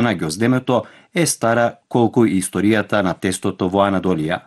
на ѓоздемето е стара колку и историјата на тестото во Анадолија.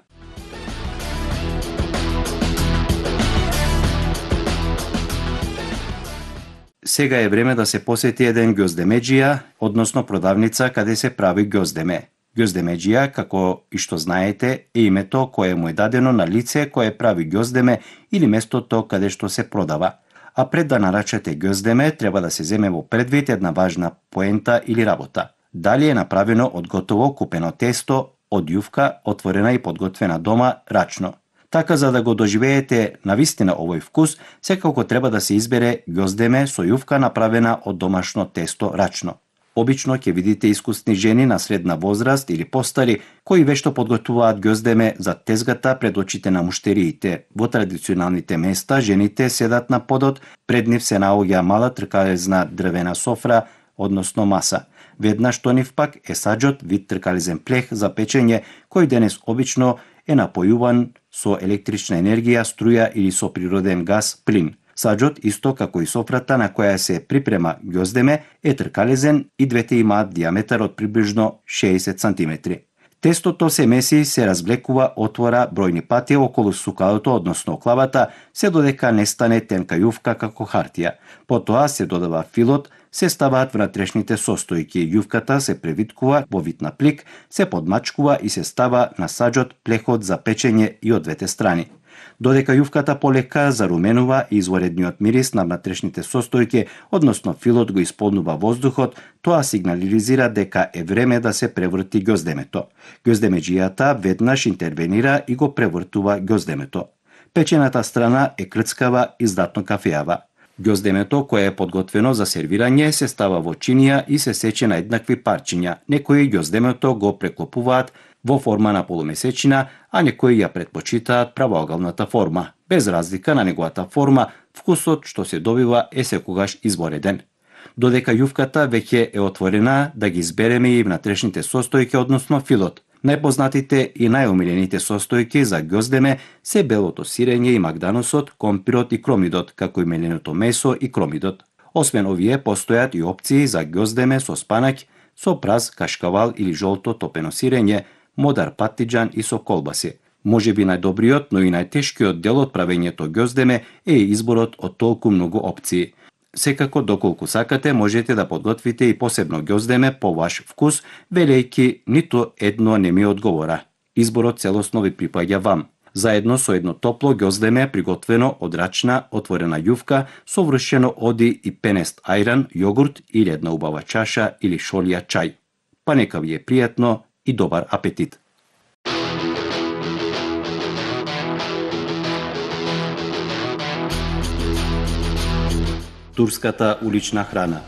Сега е време да се посети еден ѓоздемеџија, односно продавница каде се прави ѓоздеме. Ѓоздемеџија, како и што знаете, е името кое му е дадено на лице кое прави ѓоздеме или местото каде што се продава. А пред да нарачате ѓоздеме, треба да се земе во предвид една важна поента или работа. Дали е направено од готово купено тесто, од јувка, отворена и подготвена дома, рачно. Така, за да го доживеете навистина овој вкус, секако треба да се избере ѓоздеме со јувка направена од домашно тесто рачно. Обично ќе видите искусни жени на средна возраст или постари кои вешто подготвуваат ѓоздеме за тезгата пред очите на муштериите. Во традиционалните места жените седат на подот, пред нив се наоѓа мала тркалезна дрвена софра, односно маса. Веднаш до нив пак е саџот, вид тркалезен плех за печење, кој денес обично е напојуван со електрична енергија, струја или со природен газ, плин. Саџот, исто како и софрата на која се припрема ѓоздеме, е тркалезен и двете имаат диаметар од приближно 60 см. Тестото се меси, се развлекува, отвора бројни пати околу сукалото, односно клавата, се додека не стане тенка јувка како хартија. Потоа се додава филот, се ставаат внатрешните состојки, јувката се превиткува во вид на плик, се подмачкува и се става на саџот плехот за печење и од двете страни. Додека јувката полека заруменува и изворедниот мирис на внатрешните состојки, односно филот го исполнува воздухот, тоа сигнализира дека е време да се преврти ѓоздемето. Ѓоздемеџијата веднаш интервенира и го превртува ѓоздемето. Печената страна е крцкава и здатно кафеава. Ѓоздемето, кое е подготвено за сервирање, се става во чинија и се сече на еднакви парчиња. Некои ѓоздемето го преклопуваат во форма на полумесечина, а некои ја предпочитаат правоагалната форма. Без разлика на неговата форма, вкусот што се добива е секогаш извореден. Додека јувката веќе е отворена, да ги избереме и внатрешните состојки, односно филот. Најпознатите и најомилените состојки за ѓоздеме се белото сирење и магданосот, компирот и кромидот, како и меленото месо и кромидот. Освен овие, постојат и опции за ѓоздеме со спанаќ, со праз, кашкавал или жолто топено сирење, модар паттиџан и со колбаси. Можеби најдобриот, но и најтешкиот дел од правењето ѓоздеме е изборот од толку многу опции. Секако, доколку сакате, можете да подготвите и посебно ѓоздеме по ваш вкус, велејќи ниту едно не ми одговора. Изборот целосно ви припаѓа вам. Заедно со едно топло ѓоздеме приготвено од рачна, отворена јувка, совршено оди и пенест ајран, јогурт или една убава чаша или шолија чај. Па нека ви е пријатно и добар апетит! Турската улична храна.